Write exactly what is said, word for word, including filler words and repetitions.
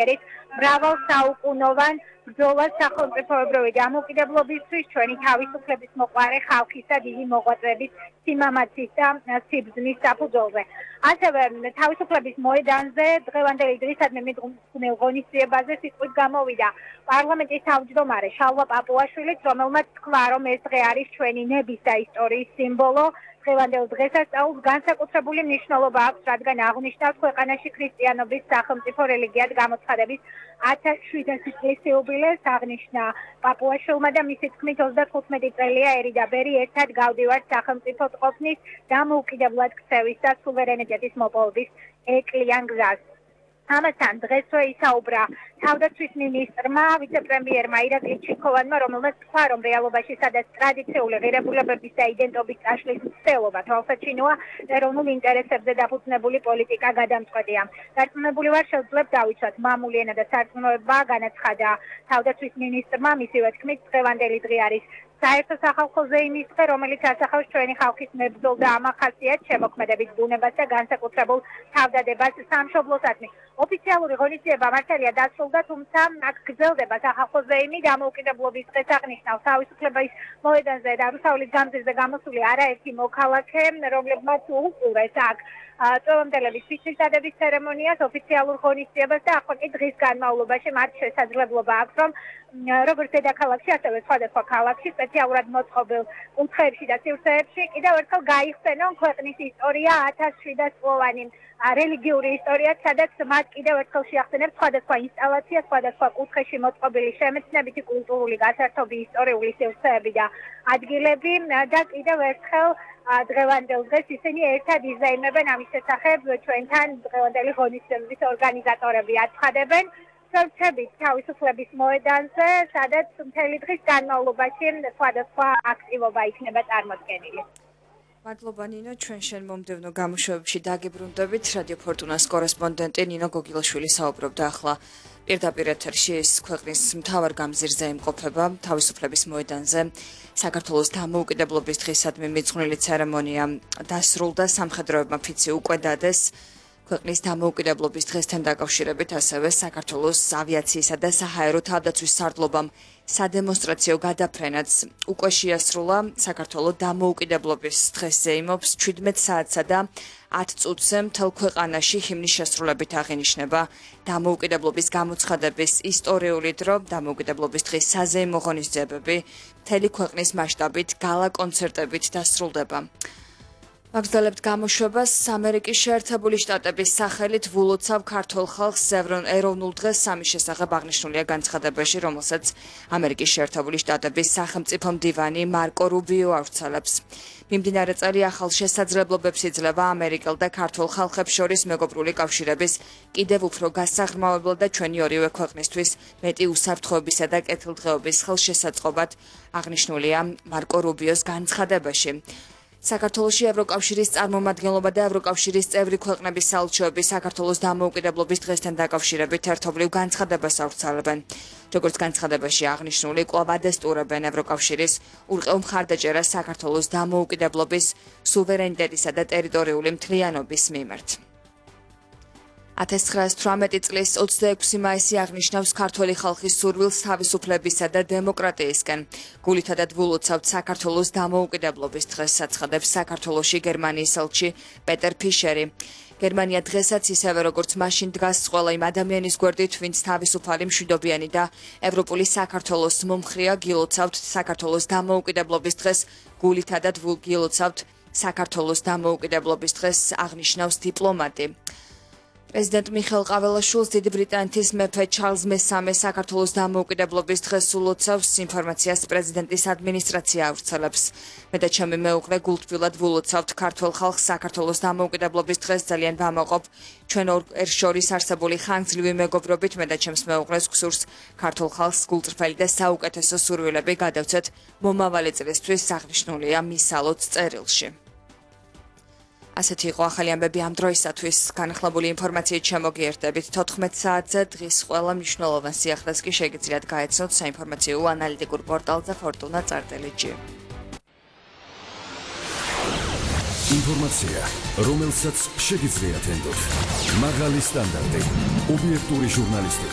ერით მრავალ საუკუნოვან ბრძოლას სახელმწიფოებრივი დამოუკიდებლობისთვის, ჩვენი თავისუფლების მოყვარე ხალხისა დიდი მოღვაწეების სიმამაცის და სიბრძნის საფუძველზე. ასევე თავისუფლების მოედანზე დღევანდელი დრისადმი მიდგმულ ღონისძიებაზე სიტყვით გამოვიდა პარლამენტის თავმჯდომარე შალვა პაპუაშვილიც, რომელმაც თქვა, რომ ეს დღე არის ჩვენი ნების და ისტორიის სიმბოლო. დღევანდელ დღესასწაულს განსაკუთრებული მნიშვნელობა აქვს, რადგან აღნიშნავს ქვეყანაში ქრისტიანობის სახელმწიფო რელიგიად გამოცხადების ათას შვიდასი წლის იუბილეს. აღნიშნა პაპუაშვილმა და მისი თქმით ოცდათხუთმეტი წელია ერი და ბერი ერთად გავდივართ სახელმწიფო ყოფნის, დამოუკიდებლად ქცევის და სუვერენიტეტის მოპოვების ეკლიან გზას. ამასთან დღესვე ისაუბრა თავდაცვის მინისტრმა, ვიცე-პრემიერმა ირაკლი ჩიქოვანმა, რომელმაც თქვა, რომ რეალობაში სადაც ტრადიციული ღირებულებების და იდენტობის წაშლის მცდელობა თვალსაჩინოა, ეროვნულ ინტერესებზე დაფუძნებული პოლიტიკა გადამწყვეტია. დარწმუნებული ვარ, შევძლებთ დავიცვათ მამული ენა და სარწმუნოება, განაცხადა თავდაცვის მინისტრმა, მისივე თქმით, დღევანდელი დღე არის საერთო სახალხო ზეიმის დღე, რომელიც ასახავს ჩვენი ხალხის მებრძოლ და ამახასიათებს შემოქმედებით ბუნებას და განსაკუთრებულ თავდადებას სამშობლოსადმი. ოფიციალური ღონისძიება მართალია დასრულდა, თუმცა აქ გრძელდება სახალხო ზეიმი დამოუკიდებლობის დღეს აღნიშნავს თავისუფლების მოედანზე და რუსთაველის გამზირზე გამოსული არაერთი მოქალაქე, რომლებმაც უყურეს აქ წვევამდელების ფიჭვის ცერემონიას, ოფიციალურ ღონისძიებას და ახლა კი დღის განმავლობაში მათ შესაძლებლობა აქვს, რომ როგორც დედაქალაქში, ასევე სხვადასხვა ქალაქში, სპეციალურად მოწყობილ კუთხეებში და სივრცეებში კიდევ ერთხელ გაიხსენონ ქვეყნის ისტორია ათას შვიდასწლოვანი რელიგიური ისტორია, სადაც მათ კიდევ ერთხელ შეახსენებს სხვადასხვა ინსტალაცია, სხვადასხვა კუთხეში მოწყობილი შემეცნებითი კულტურული გასართობი, ისტორიული სივრცეები და ადგილები და კიდევ ერთხელ დღევანდელ დღეს ისინი ერთად იზეიმებენ ამის შესახებ ჩვენთან დღევანდელი ღონისძიების ორგანიზატორები აცხადებენ. სორჩებით თავისუფლების მოედანზე, სადაც მთელი დღის განმავლობაში სხვადასხვა აქტივობა იქნება წარმოდგენილი. მადლობა ნინო, ჩვენ შენ მომდევნო გამოშვებებში დაგიბრუნდებით. რადიო ფორტუნას კორესპონდენტი ნინო გოგილაშვილი საუბრობდა ახლა პირდაპირ ეთერში ეს ქვეყნის მთავარ გამზირზე იმყოფება თავისუფლების მოედანზე. საქართველოს დამოუკიდებლობის დღისადმი მიძღვნილი ცერემონია დასრულდა, სამხედროებმა ფიცი უკვე დადეს. ქვეყნის დამოუკიდებლობის დღესთან დაკავშირებით ასევე საქართველოს ავიაციისა და საჰაერო თავდაცვის სარდლობამ სადემონსტრაციო გადაფრენაც უკვე შეასრულა. საქართველოს დამოუკიდებლობის დღეს ზეიმობს ჩვიდმეტ საათსა და ათ წუთზე მთელ ქვეყანაში ჰიმნის შესრულებით აღინიშნება დამოუკიდებლობის გამოცხადების ისტორიული დრო, დამოუკიდებლობის დღის საზეიმო ღონისძიებები მთელი ქვეყნის მასშტაბით გალა კონცერტებით დასრულდება. ვაგრძელებთ გამოშვებას. ამერიკის შეერთებული შტატების სახელით ვულოცავ ქართულ ხალხს ეროვნულ დღეს სამის შესახებ აღნიშნულია განცხადებაში, რომელსაც ამერიკის შეერთებული შტატების სახელმწიფო მდივანი მარკო რუბიო ავრცელებს. მიმდინარე წელი ახალ შესაძლებლობებს იძლევა ამერიკელ და ქართულ ხალხებს შორის მეგობრული კავშირების კიდევ უფრო გასაღრმავებლად და ჩვენი ორივე ქვეყნისთვის მეტი უსაფრთხოებისა და კეთილდღეობის ხელშესაწყობად აღნიშნულია მარკო რუბიოს განცხადებაში. საქართველოში ევროკავშირის წარმომადგენლობა და ევროკავშირის წევრი ქვეყნების საელჩოები საქართველოს დამოუკიდებლობის დღესთან დაკავშირებით ერთობლივ განცხადებას ავრცელებენ. როგორც განცხადებაში აღნიშნული, კვლავ ადესტურებენ ევროკავშირის ურყევ მხარდაჭერას საქართველოს დამოუკიდებლობის, სუვერენიტეტისა და ტერიტორიული მთლიანობის მიმართ. ათას ცხრაასი თვრამეტი წლის ოცდაექვსი მაისი აღნიშნავს ქართველი ხალხის სურვილს თავისუფლებისა და დემოკრატიისკენ. გულითადად ვულოცავთ საქართველოს დამოუკიდებლობის დღეს, აცხადებს საქართველოში გერმანიის ელჩი პეტერ ფიშერი. გერმანია დღესაც ისევე როგორც მაშინ დგას ყველა იმ ადამიანის გვერდით, ვინც თავისუფალი, მშვიდობიანი და ევროპული საქართველოს მომხრეა, გილოცავთ საქართველოს დამოუკიდებლობის დღეს, გულითადად გილოცავთ საქართველოს დამოუკიდებლობის დღეს, აღნიშნავს დიპლომატი. პრეზიდენტ მიხეილ ყაველაშვილს დიდი ბრიტანეთის მეფე ჩარლზ მესამე საქართველოს დამოუკიდებლობის დღეს ულოცავს, ინფორმაციას პრეზიდენტის ადმინისტრაცია ავრცელებს. მე და ჩემი მეუღლე გულთბილად ვულოცავთ ქართველ ხალხს საქართველოს დამოუკიდებლობის დღეს, ძალიან ვამაყობ ჩვენ ორ შორის არსებული ხანგრძლივი მეგობრობით, მე და ჩემს მეუღლეს გვსურს ქართულ ხალხს გულწრფელი და საუკეთესო სურვილები გადავცეთ მომავალი წლისთვის, აღნიშნულია მის ალოც წერილში. ასეთი იყო ახალი ამბები ამ დროისათვის. განახლებული ინფორმაციით შემოგიერთდებით თოთხმეტ საათზე. დღის ყველა მნიშვნელოვან სიახლეს კი შეგიძლიათ გაეცნოთ საინფორმაციო ანალიტიკურ პორტალზე Fortuna.art. ინფორმაცია, რომელსაც შეგიძლიათ ენდოთ. მაღალი სტანდარტი, ობიექტური ჟურნალისტიკა.